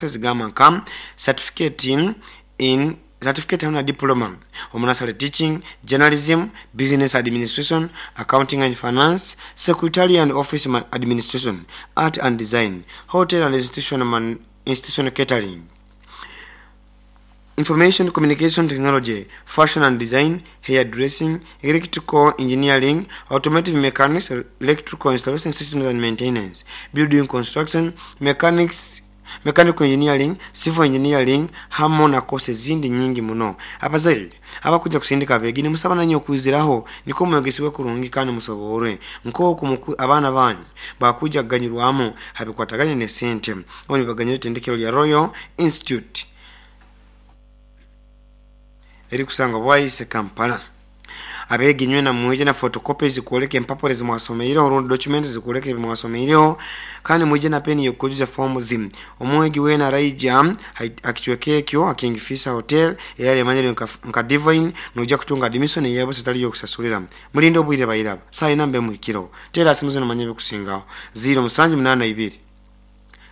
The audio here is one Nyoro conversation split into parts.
Zigamba nka certificate in certificate hamwe na diploma omu nursery teaching, journalism, business administration, accounting and finance, secretarial and office administration, art and design, hotel and institutional catering, information communication technology, fashion and design, hairdressing, electrical engineering, automotive mechanics, electrical installation systems and maintenance, building construction, mechanics, mechanical engineering, civil engineering hamu na courses ezindi nyingi muno. Abazaire abakuja kusindika abeegi, nimusaba nanye okwiziraho nikwo mwegesibwe kurungi kandi musoborwe nk'oku abaana banyu bakuja kuganyirwamu habikwataganye n'esente obu nibaganyira itendekero lya Royal Institute erikusangwa Bwaise, Kampala. Abeegi nywena mwije na photocopy zikwoleka empapura ezimwasomeireho rundi documents zikwoleka ebi mwasomeireho, kandi mwije na peni y'okujuza fomu zimu. Omwegi weena araija akicweka ekyo Kingfisher Hotel eyali emanyire nka Divine, noija kutunga admission eyabusa etali y'okusasulira. Mulinde obwire bairaba saa ina mbe muhikiro. Teera simu zinu manye ebikusingaho: 0782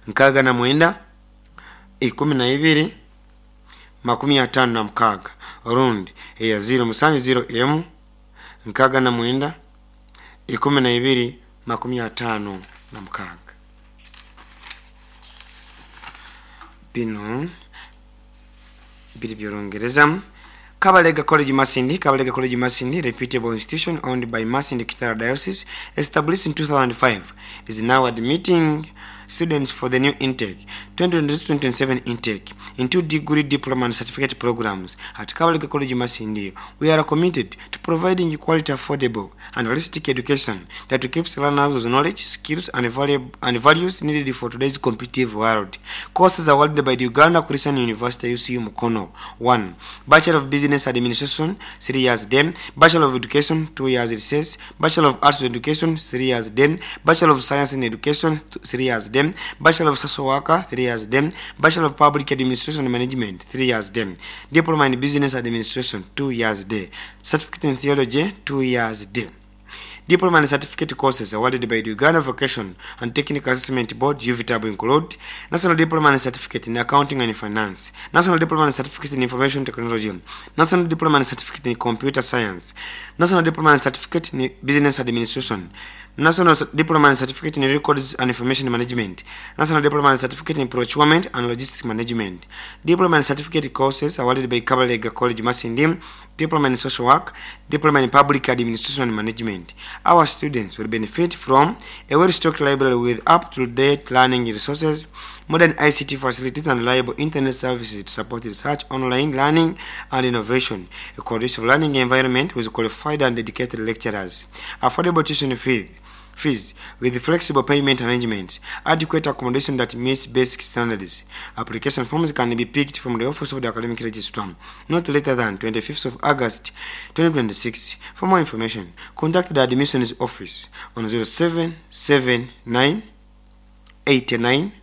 69 12 56 rundi eya 0701 69 12 56. Binu biri by'Orungereza. Kabalega College Masindi. Kabalega College Masindi, reputable institution owned by Masindi Kitara Diocese, established in 2005, is now admitting students for the new intake, 2026-2027 intake, in two degree, diploma and certificate programs. At Kabalega College Masindi, we are committed to providing quality, affordable and holistic education that keeps learners with knowledge, skills and values needed for today's competitive world. Courses awarded by the Uganda Christian University, UCU Mukono: 1. Bachelor of Business Administration, 3 years day. Bachelor of Education, 2 years recess. Bachelor of Arts in Education, 3 years day. Bachelor of Science in Education, 3 years day. Bachelor of Social Worker, 3 years day. Bachelor of Public Administration and Management, 3 years day. Diploma in Business Administration, 2 years day. Certificate in Theology, 2 years day. Diploma and certificate courses awarded by the Uganda Vocation and Technical Assessment Board, UVTAB, include National Diploma and Certificate in Accounting and Finance, National Diploma and Certificate in Information Technology, National Diploma and Certificate in Computer Science, National Diploma and Certificate in Business Administration, National Diploma and Certificate in Records and Information Management, National Diploma and Certificate in Procurement and Logistics Management. Diploma and Certificate courses awarded by Kabalega College Masindi: Diploma in Social Work, Diploma in Public Administration and Management. Our students will benefit from a well-stocked library with up-to-date learning resources, modern ICT facilities and reliable internet services to support research, online learning and innovation, a conducive learning environment with qualified and dedicated lecturers, affordable tuition fees with flexible payment arrangements, adequate accommodation that meets basic standards. Application forms can be picked from the office of the academic registrar not later than 25th of August 2026. For more information, contact the admissions office on 0779 89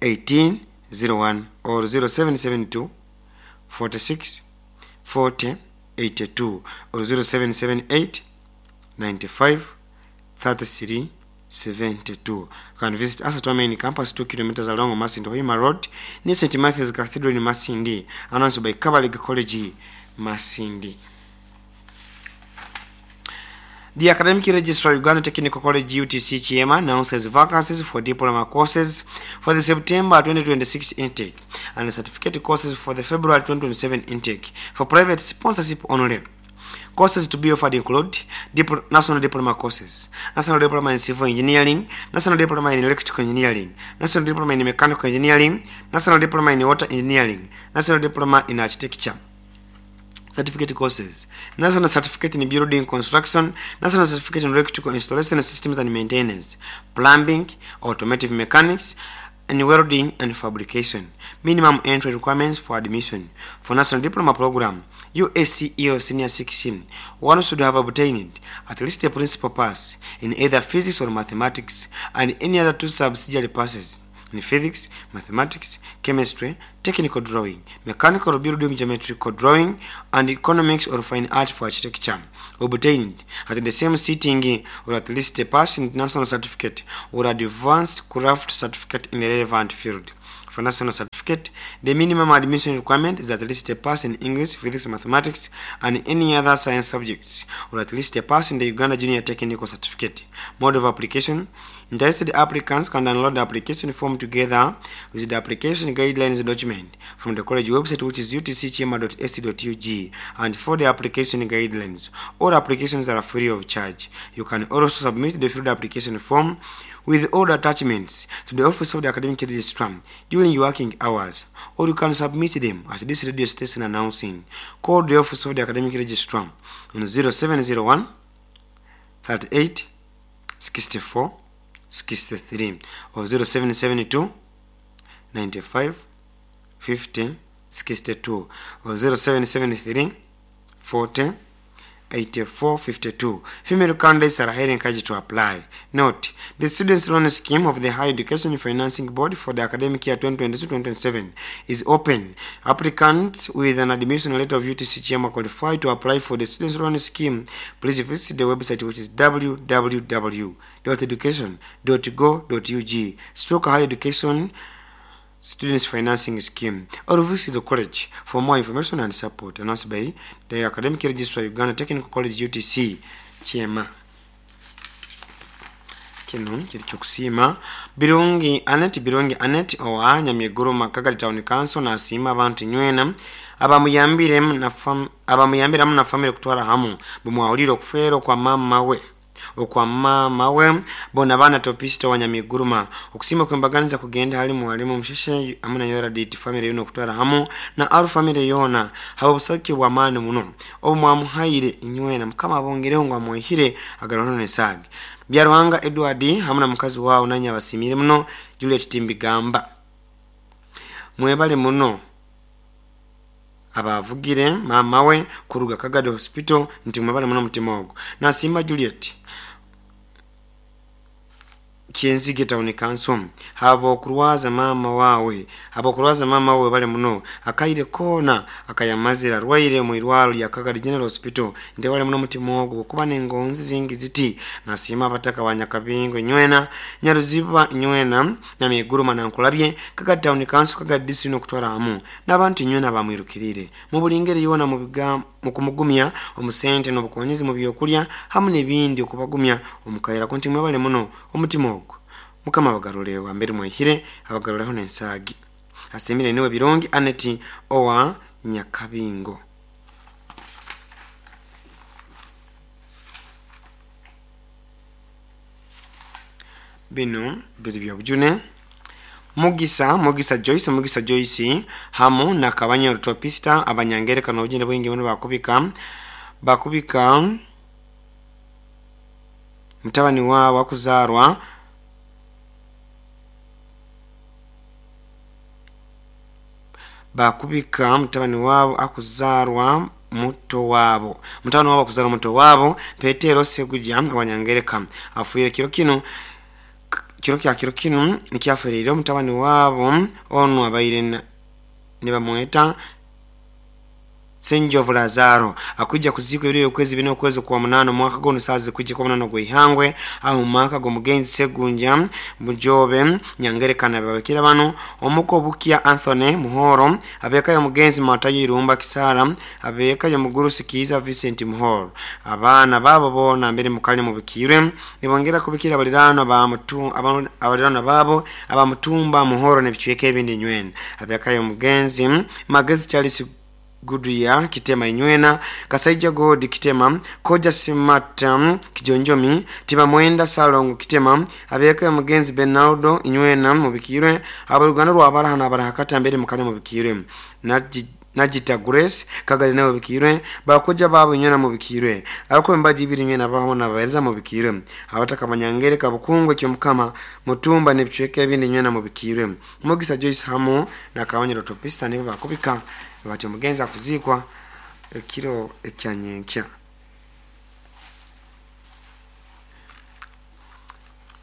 1801 or 0772 46 40 82 or 0778 95 33 72. You can visit us at our main campus, 2 kilometers along Masindi Hoima Road, near St. Matthew's Cathedral in Masindi. Announced by Kabalega College Masindi. The Academic Registrar, Uganda Technical College, UTC Kyema, announces vacancies for diploma courses for the September 2026 intake and certificate courses for the February 2027 intake for private sponsorship only. Courses to be offered include National Diploma courses, National Diploma in Civil Engineering, National Diploma in Electrical Engineering, National Diploma in Mechanical Engineering, National Diploma in Water Engineering, National Diploma in Architecture. Certificate courses: National Certificate in Building Construction, National Certificate in Electrical Installation Systems and Maintenance, Plumbing, Automotive Mechanics, and Welding and Fabrication. Minimum entry requirements for admission: For National Diploma Program, USCE or Senior 6, one should have obtained at least a principal pass in either physics or mathematics and any other two subsidiary passes in physics, mathematics, chemistry, technical drawing, mechanical or building geometrical drawing, and economics or fine art for architecture, obtained at the same sitting, or at least a pass in national certificate or advanced craft certificate in a relevant field. for national certificate. The minimum admission requirement is at least a pass in English, Physics, Mathematics, and any other science subjects, or at least a pass in the Uganda Junior Technical Certificate. Mode of application. Interested applicants can download the application form together with the application guidelines document from the college website, which is utckyema.ac.ug, and for the application guidelines. All applications are free of charge. You can also submit the filled application form with all the attachments to the office of the academic registrar during working hours, or you can submit them at this radio station announcing. Call the office of the academic registrar on 0701 38 64 63 or 0772 95 50 62 or 0773 40 8452. Female candidates are highly encouraged to apply. Note, the Students' Loan Scheme of the Higher Education Financing Board for the academic year 2022-2027 is open. Applicants with an admission letter of UTC Kyema qualify to apply for the Students' Loan Scheme. Please visit the website, which is www.education.go.ug stroke higher education Students Financing Scheme, or visit the college for more information and support. Announced by the Academic Registrar, Uganda Technical College UTC Kyema. Kino kiri kyokusiima Birungi Anet. Birungi Anet owa Nyamiguruma Kagadi Town Council nasiima abantu nywena abamuyambiremu na family kutwara hamu bumwahulire okufeera kwa mama we, okwa mama we bona baana Topista wa Nyamiguruma. Okusiima kwembaganiza kugenda hali mwalimu Musheshe amuna Yoradit family yona okutwara hamu na aru family yona haba obusake bw'amaani muno obumwamuhaire inywena. Mukama abongereho ngu amwehire agarano nesaagi. Byaruhanga Edward hamu na mukazi wawe nanye abasimire muno. Juliet Timbigamba mwebale muno abavugire mama we kuruga Kagadi Hospital nti mwebale muno mutima ogwo. Nasiima Juliet Kyenzige Town Council habo okurwaza mama wawe, habo okurwaza mama wawe bale muno akaire kona akayamazira arwaire mu irwaro lya Kagadi General Hospital nti bale muno mutima ogwo kuba nengonzi zingi ziti. Nasiima abataka ba Nyakabingo nywena, Nyaruziba nywena, Nyamiguruma nankulabye Kagadi Town Council, Kagadi District okutwara hamu n'abantu nywena bamwirukirire mu buli ngeri yona mu kumugumya omusente n'obukonyezi mu byokulya hamu n'ebindi okubagumya omukaira kunti mwebale muno omutima ogwo. Mukama abagarule wambere mwehire abagaruleho n'ensaagi. Asimire niwe Birungi Aneti owa Nyakabingo. Bino biri byobujune. Mugisa Mugisa Joyce, Mugisa Joyce hamu na Kabanya Topista abanyangereka n'obujune bwingi muno bakubika mutabani waabo akuzarwa bakubika mutabani waabo akuzarwa muto waabo, mutabani waabo akuzarwa muto waabo Petero Seguja abanyangereka afuire kiro kino, kiro kya kiro kino nikyafereire mutabani waabo ono abaire nibamweta Senjovu Lazaro akuja kuzikwa ebiro okwezi bina okwezi kwa munano mwaka gono sazi kujja kwa munano gwihangwe aho mwaka go mugenzi Segunja Mujobe Nyangerekana babakira bano omuko Bukia Anthony Muhoro abeka ya mugenzi Matayo Irumba Kisara abeka ya mugurusi Kiza Vincent Muhoro abaana babo bona mbere mukali mubikirwe nibongera kubikira abalirano ba mutu abalirano babo abamutumba Muhoro nebichweke ebindi nywena abeka ya mugenzi Magezi Charles Guduya Kitema inywena Kasaija God Kitema Koja Simata Kijonjomi Tiba Mwenda Salongo Kitema abeka ya mugenzi Bernardo inywena mubikirwe abaluganda rwa abaraha n'abarahakata mbere mukali mubikirwe Najita Grace Kagali nawe bikirwe bakoja babo inywena mubikirwe abako mbaji ibiri inywena baho nabahereza mubikirwe abataka banyangere kabukungwe kyo mukama mutumba nebichweke ebindi inywena mubikirwe Mugisa Joyce hamu na Kabanyiro Topista nibo bakubika bati omugenzi akuzikwa ekiro ekyanyenkya.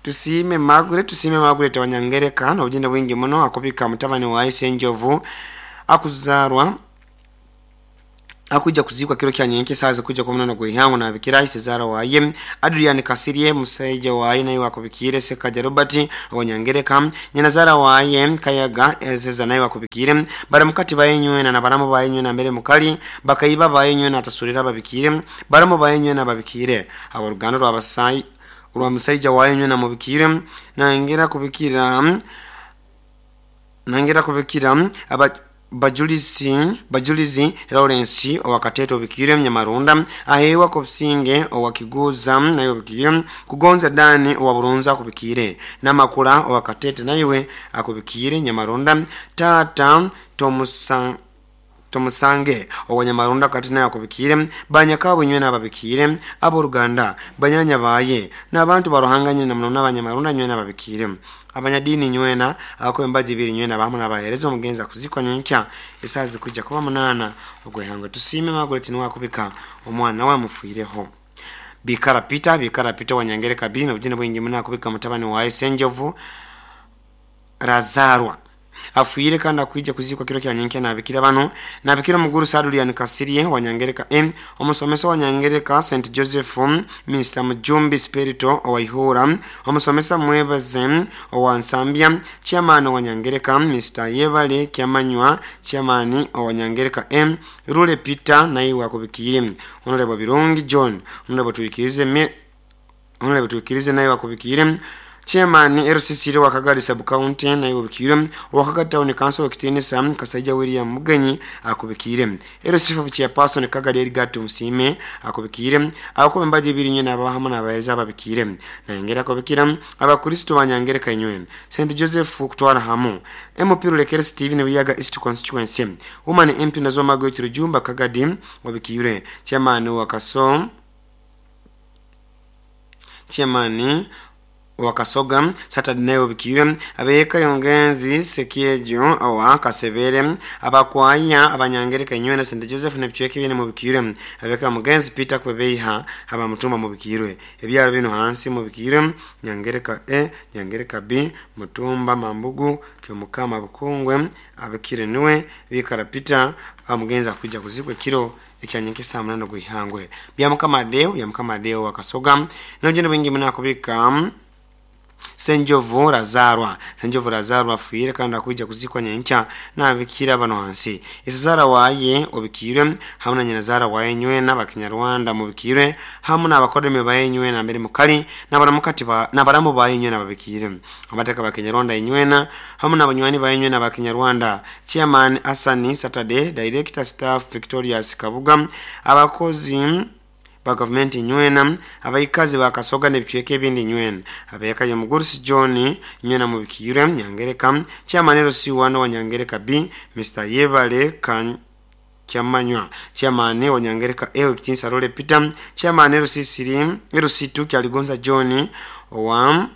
Tusiime Margaret, tusiime Margaret wanyangereka n'obugenda bwingi muno akubika mutabani wa Senjovu akuzarwa Akuja kuzikwa kiro kya nyenke saza kuja kwa munana gwehango na bikira Cesaro waye Adrian Kasirye musaija waye naye wakubikire Sekaja Robert Onyangereka nyanazara waye Kayaga Ezeza naye wakubikire baramukati bayenywe na baramu bayenywe na mbere mukali bakaiba bayenywe na tasurira babikire baramu bayenywe na babikire aboruganda rwabasai rwa musaija wayenywe na mubikire nangera kubikira aba Bajulizi Lawrence owakateto bikire Nyamarunda ahewa kopsinge owakiguza nayo bikire kugonza Dani owaburunza kubikire namakula owakatete naiwe akubikire Nyamarunda tata Tomusange owanyamarunda kati nayo akubikire banyakabo nywe nababikire aboruganda banyanya baye n'abantu baruhanganye na muno n'abanyamarunda nywe nababikire abanyadini nywena akwembaji biri nywena bamu nabahereza omugenza kuzikwa nyenkya esazi kujja kuba 8 ogwehanga. Tusime Margaret niwe akubika omwana we mufiireho. Bikara Peter Wanyangereka bino obujune bwingi muna akubika mutabani wa Senjovu Razarwa afuire kandi akuija kuzikwa kiro kya nyenkya nabikira bano nabikira muguru Sadulian Kasirye Wanyangereka M omusomesa Wanyangereka St Joseph Mr Mujumbi Spirito owaihura omusomesa Mwebaze owansambya chairman Wanyangereka Mr Yebale Kyamanywa chairman Owanyangereka M Rule Peter naye wakubikire Honorable Birungi John Honorable Tuikirize naye wakubikire Chairman RCC wa Kagari Sub County na yobikire wa Kagari Town Council wakitinisa Kasaija William Mugenyi akubikire RCC chairperson Kagari Edgar Musime akubikire abakombaje birinye nabahamu nabaeza ababikire nayengera kubikira abakristo banyangereka inywe St Joseph kutwara hamu MP Rulekere Steven Wiyaga East Constituency Woman MP nazo Margaret Rujumba Kagadi wabikire chairman wa Kaso chairman wakasoga Saturday nayo bikire abeka yongenzi sekiejo awa kasebere abakwaya abanyangereka inywe na St Joseph ne bichweke bine mu bikire abeka mugenzi Peter kwebeiha aba mutuma mu bikire ebyaro bino hansi mu bikire Nyangereka E Nyangereka B Mutumba Mambugu Kyomukama Bukungwe abikire niwe bikara Peter amugenza kuja kuzikwe kiro ekyanyenke saa 8 gwihangwe bya Mukama Deo wakasoga nabyo bwingi munakubika Senjovu Razarwa afuire kandi akuja kuzikwa nyenkya nabikira bano hansi isazara waye obikire hamwe na nyanazara waye nywe n'abakinyarwanda mubikire hamwe n'abakodeme baye nywe na mbere mukali n'abaramukati ba n'abaramu baye nywe nababikire abateka bakinyarwanda inywena hamwe n'abanywani baye nywe n'abakinyarwanda Chairman Asani Saturday Director Staff Victorious Kabuga abakozi ba government nywena abayikazi bakasoga nebicweke ebindi nywena abeka ya Mugurusi John nywena mubikire Nyangereka chairman RC1 wa Nyangereka B Mr Yebale kan Kyamanywa chairman wa Nyangereka E Kitinsa Role Peter chairman RC3 RC2 Kyaligonza John wa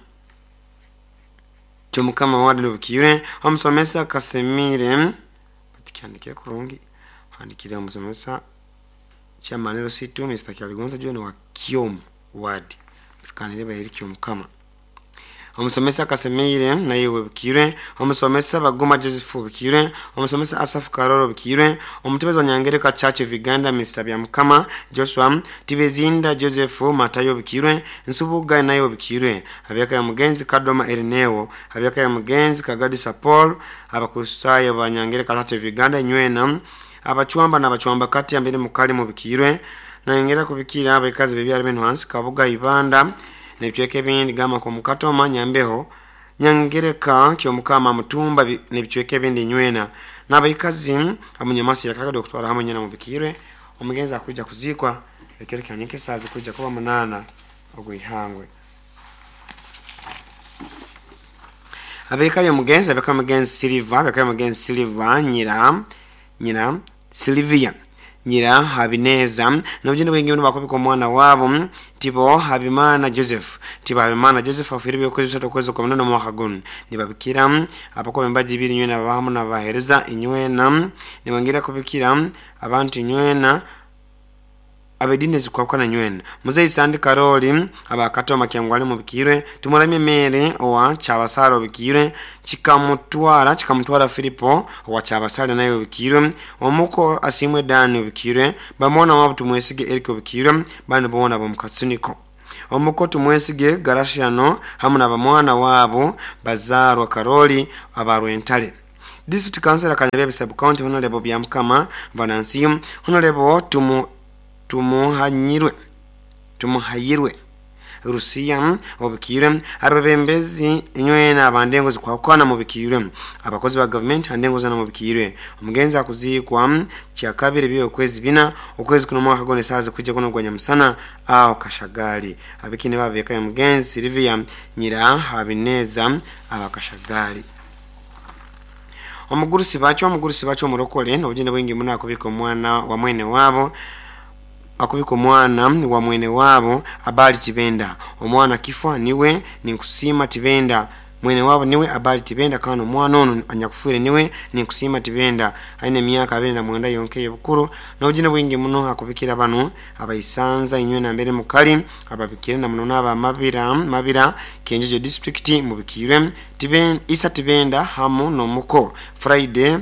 Kyomukama wa Bukire omusomesa Kasemire patikyandikire kurungi handikire omusomesa chairman RC2 Mr Kyaligonza John wa Kiom Ward tukanire bayiri Kyomukama omusomesa Kasemire naye webikire omusomesa Baguma Joseph bikire omusomesa Asaf Karoro bikire omutebezi wa Nyangereka Church of Uganda Mr Byamukama Joshua Tibezinda Joseph Matayo bikire Nsubuga naye bikire abyaka ya mugenzi Kadoma Erineo abyaka ya mugenzi Kagadisa Paul abakusayo ba Nyangereka Church of Uganda nywena abachwamba na abachwamba kati ambere mukali mubikirwe nayengera kubikira abekazi bebyali beno hansi Kabuga Ibanda nebichweke bindi gama kwa Mukatoma Nyambeho Nyangereka Kyomukama Mutumba nebichweke bindi nywena n'abaikazi amunyamasi yakagado okutwara hamwe nyina mubikirwe omugenzi akuja kuzikwa ekero kyanyeke sazi kuja kuba 8 ogwihangwe abeka yo mugenzi abeka mugenzi Silva nyira Silvia nyira Habineza nabyo bwingi bakubika omwana wabo Tibo Habimana Joseph afire byokwezi kwezi kwa munana mwaka guno nibabikira abakobe mbaji biri nywena abahamu nabahereza inywena nibangira kubikira abantu inywena Abedini ezikwakwana nywena Muzeyi Sandi Karoli abakatoma Kyangwali mubikirwe Tumuramye Mary owa Kyabasale obikirwe Chikamutwara Filipo owa Kyabasale naye obikirwe Omuko Asimwe Dani obikirwe Bamona wabo Tumwesige Eric obikirwe bandi boona bomukatsuniko Omuko Tumwesige Garashiano hamu na bamwana wabo Bazarwa Karoli abarwentale. District Council Kanyabebe Sub County Honorable Byamukama Venansium Honorable Tumuhayirwe Rusiya obikirwe ababembezi nywena abandengo zikwakwana mubikirwe abakozi ba government andengo zana mubikirwe. Omugenzi akuzikwa kya kabiri byo kwezi bina okwezi kuno mwaka gone saza kujja kuno gwanya musana aho Kashagali abikine babeka ya mugenzi Silvia Nyira Habineza abakashagali. Omugurusi bacho omurokole n'obugende bwingi muno akubika omwana wa mwene wabo akubika omwana wa mwene wabo Abali Tibenda. Omwana kifwa niwe ninkusima Tibenda mwene wabo niwe Abali Tibenda kano omwana ono anyakufuire niwe ninkusima Tibenda aine emyaka 29 yonke y'obukuru n'obugende bwingi muno akubikira bano abayisanza inywe na mbere mukali ababikire na muno n'aba mabira Kenjejo district mubikirwe Isa Tibenda hamu n'omuko Friday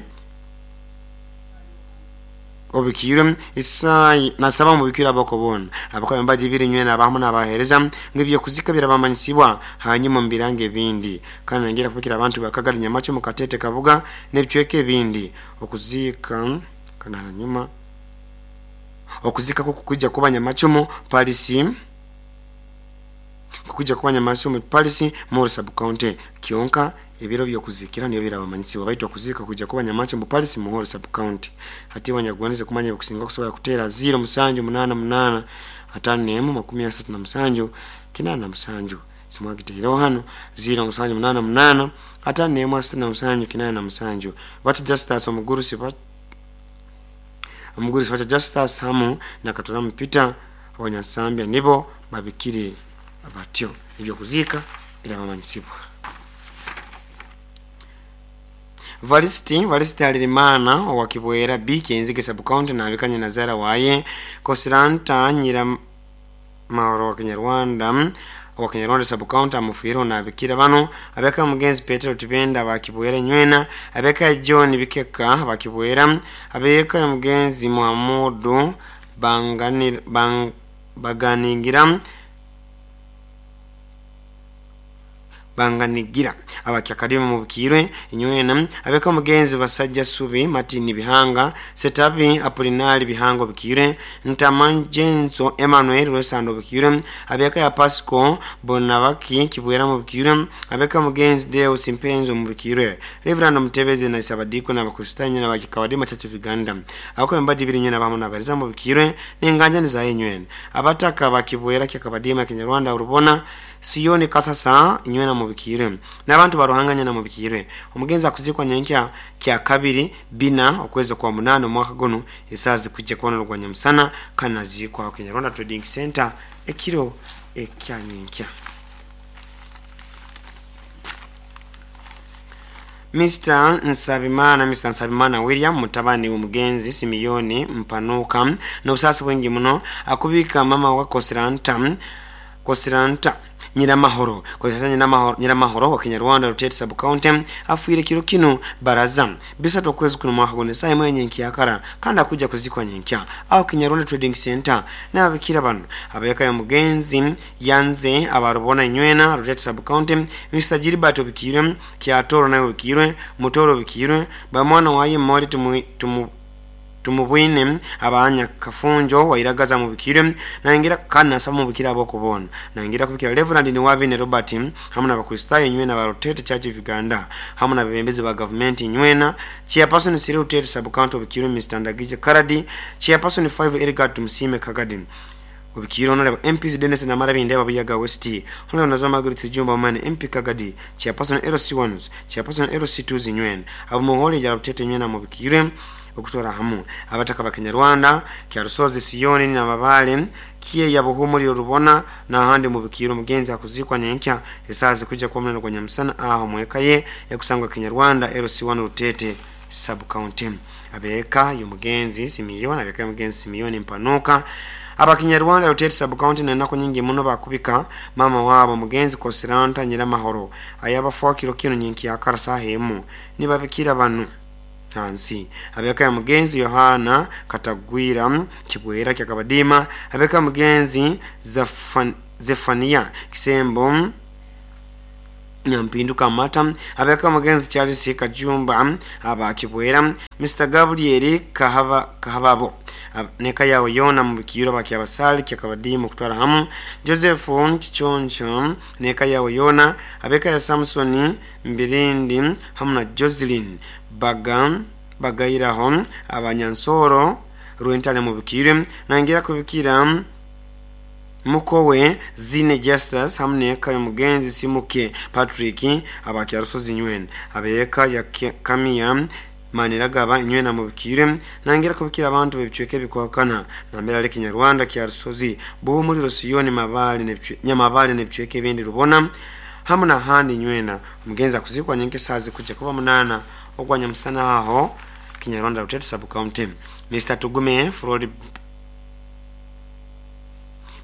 obikirwe Isai nasaba mubikira abakobona abakoye mbaji biri nywena abahamu n'abahereza ngibyo kuzika birabamanyisibwa hanyuma mbirange ebindi kandi ngira kubikira abantu bakagari Nyamacho mukatete kabuga n'ebicweke ebindi okuzika kana hanyuma okuzika ko kukujja kuba Nyamacho Paris kukujja kuba Nyamacho Paris Moro sub county Kionka ebiro byokuzikira niyo birabamanyisibwa baitu okuzika kujja kuba Nyamacho mu Paris Muhoro sub county hati wanyagwanize kumanya kusinga kusobola kutera 0788 51 37 87 simwagitero hano 0788 51 37 87 bati Justus omugurusi bati Justus hamu na Katora Mpita abanyasambya nibo babikire abatyo ebyo kuzika birabamanyisibwa. Valisiti Alirimana owa Kibwera B Kenzige sub county na abikanye Nazara waye Kosiranta Nyira Mauro wa Kinyarwanda sub county amufiro na abikira bano abeka mugenzi Petero Tibenda wa Kibwera nywena abeka John Bikeka wa Kibwera abeka mugenzi Muhammadu Banganigira abakyakadima mubikirwe inywena abeka mugenzi Basajja Subi Martin Bihanga Setabi Apolinari Bihango bikirwe Ntamanjenzo Emmanuel Rwesando bikirwe abeka ya Pasco Bonabaki Kibwera mubikirwe abeka mugenzi Deus Impenzo mubikirwe Reverend Mutebeze na Isabadiko na Bakristanyo na Bakikawadima Church of Uganda abako mbaji biri nywena bamu nabariza mubikirwe n'enganja niza inywena abataka bakibwera kyakabadima Kinyarwanda urubona Siyoni Kasasa inywena mubikirwe n'abantu baruhanganya na mubikirwe. Omugenzi akuzikwa nyenkya kya kabiri bina okwezi kwa 8 omwaka gono esazi kujja kuona rwanya musana kana zikwa Kinyarwanda Trading Center ekiro ekya nyenkya. Mr. Nsabimana William mutabani w'omugenzi Simiyoni Mpanuka n'obusasi bwingi muno akubika mama wa Kosiranta Nyiramahoro Nyiramahoro wa Kinyarwanda Rutete sub county afuire kiro kino baraza bisatu okwezi kuno mwaka gone saa imwe nyenkya kandi akuja kuzikwa nyenkya aho Kinyarwanda Trading Center n'ababikira bano abayaka ya mugenzi yanze abarubona inywena Rutete sub county Mr. Gilbert obikirwe Kyatoro naye obikirwe Mutoro obikirwe bamwana waye Mori tumubwine abanya Kafunjo wairagaza mubikire nangira kana nasaba mubikira aboko bona nangira kubikira Reverend ni Wabine Robert hamwe n'abakristayo nywena ba Rutete Church of Uganda hamwe n'abebembezi ba government nywena Chairperson Siri Rutete sub county obikire Mr. Ndagije Karadi Chairperson 5 Edgar Tumsime Kagadi obikire Honorable MPs Dennis Namarabinde ababuyaga West Honorable Nazoma Margaret Jumba Mane MP Kagadi Chairperson LC1s Chairperson LC2s nywena abo muhole ya Rutete nywena mubikire okutora hamu abataka bakinyarwanda kya Rusozi Siyoni na Mabale kiye ya buhumuri rubona na handi mubikiro mugenzi akuzikwa nyenkya esazi kujja kwa mnano kwa nyamusana aho mwekaye yakusangwa Kinyarwanda LC1 Rutete sub county abeka y'umugenzi Simiyoni Mpanuka Abakinyarwanda Rutete Sub-County nenaku nyingi muno bakubika mama wabo mugenzi Kosiranta Nyiramahoro ayabafa kiro kino nyenkyakara saha emu nibabikira banu hansi. Abeka ya mugenzi Yohana Katagwira Kibwera Kyakabadima, abeka ya mugenzi Zefania Kisembo Nyampinduka Amata, abeka mugenzi Charles Kajumba aba Kibwera, Mr Gabriel Kahababo neka yawe yona mu bikiro bakyabasali kyakabadimu kutwala hamu, Joseph Kichoncho neka yawe yona, abeka ya Samson Mbirindi hamu na Jocelyn Bagairaho abanyansoro Rwentale mu bikiro, nangira kubikira mukowe Zine Justus hamu neka ya mugenzi Simuke Patrick abakyarusozi nywena, abeka ya Kamiya Maniragaba inywena mu bikire, nangira kubikira abantu bebicweke bikwakana nambera ale Kinyarwanda kyarusozi Buhumuriro Siyoni Mabali ne Nyamabali ne bicweke ebindi rubona hamu na handi nywena. Mugenzi akuzikwa nyenke sazi kujja kuba 8 ogwanya musana aho Kinyarwanda Rutete Sub-County. Mr Tugume Froli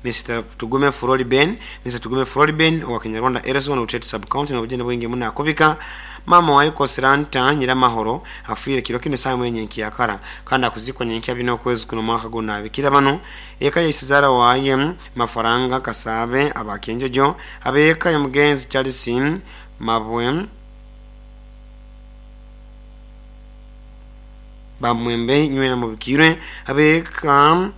Mr Tugume Froli Ben, Mr Tugume Froli Ben wa Kinyarwanda Erison Rutete Sub-County na bujene bwingi muna akubika mama wayo Kosiranta Nyiramahoro afire kiro kino saa mwenye nkiyakara kandi akuzikwa nyenkya bino kwezi kuno mwaka guna abikira bano eka ya Isizara waye Mafaranga Kasabe abakenjojo abeka ya mugenzi Charles Mabwe Bamwembe nywena mu bikire, abeka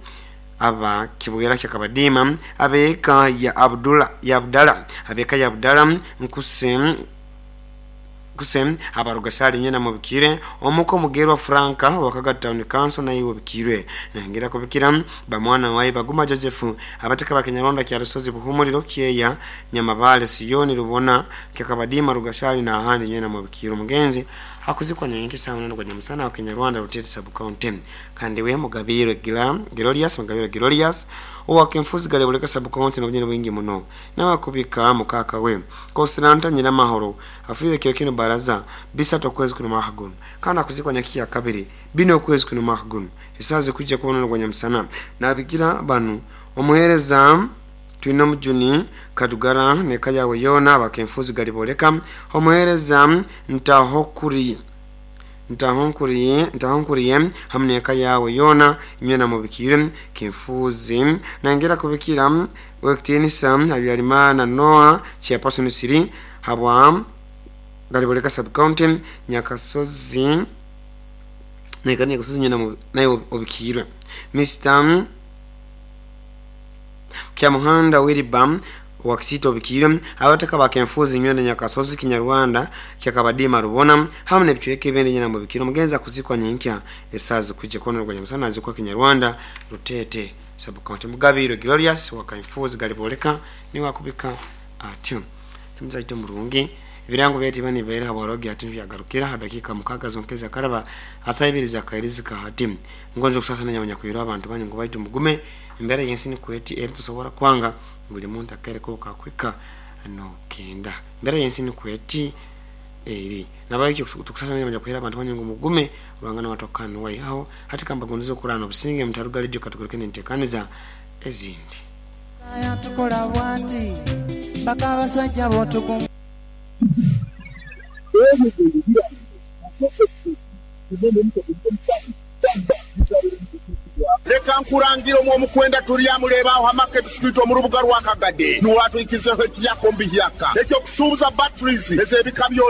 aba Kibwera Kyakabadima, abeka ya Abdullah ya Abdala, abeka ya Abdala Nkusem abarugashali nyena mu bikire, omuko mugerwa Franka wakaga Town Council na iwo bikire, nangira kubikira bamwana waye Baguma Joseph abateka bakinyarwanda kya Rusozi Buhumuriro Kyeya Nyamabale Siyoni Rubona Kyakabadima Rugashali na ahandi nyena mu bikire. Mugenzi akuzikwa nyenke sawa nando kwa musana wa Kinyarwanda Rutete Sub-County. Kandi we Mugabiro Glorious Mugabiro Glorious owa Kenfuzi Galebuleka Sub-County na bujene bwingi muno nawe kubika mukaka we Kosiranta Nyiramahoro afire kyo kino baraza bisatu kwezi kuno mwaka guno kandi akuzikwa nyakiya kabiri bino kwezi kuno mwaka guno isaze kujja kubona kwa nyamusana nabigira banu omuhereza Twino Mujuni Kadugara neka yawe yona abakenfuzi Galiboleka omuhereza ntahonkuriye hamwe neka yawe yona imyena mu bikire kenfuzi nangera kubikira wektinisa Habyarimana Noah chairperson siri habwa Galiboleka Sub-County Nyakasozi neka Nyakasozi nyena nayo obikirwe Mr Kyamuhanda Wilibam wakisito bikire abataka bakenfuzi nywene Nyakasozi Kinyarwanda Kyakabadima Rubona hamwe nebicweke ebindi nyina mu bikiro. Mugenza kuzikwa nyenkya esazi kujja kono rwa nyamusana azikwa Kinyarwanda Rutete Sub-County. Mugabiro Glorious wakenfuzi Galiboleka ni wakubika atyo tumzaite murungi ibirango byati bani bera haborogi ati byagarukira hadakika mukaga zonkeza karaba asayibiriza kairizika hati ngonzo kusasa nanya kuyira abantu banyu ngo baitu mugume imbere yensi ni kweti eri tusobora kwanga buli muntu akere ko kakwika no kenda imbere yensi ni kweti eri nabaye tukusasa nanya kuyira abantu banyu ngo mugume bangana watokana wai aho hati kamba gondezo kurana obusinge mutaruga radio katukuruke nentekaniza ezindi aya tukola bwati bakabasajja botukum Leka nkurangira omwo omukwenda tulyamuleba aho Market Street omu rubuga rwa Kagade niwatwikizeho ekiyakombi hyaka ekyokusuubuza batteries ez'ebika byonna.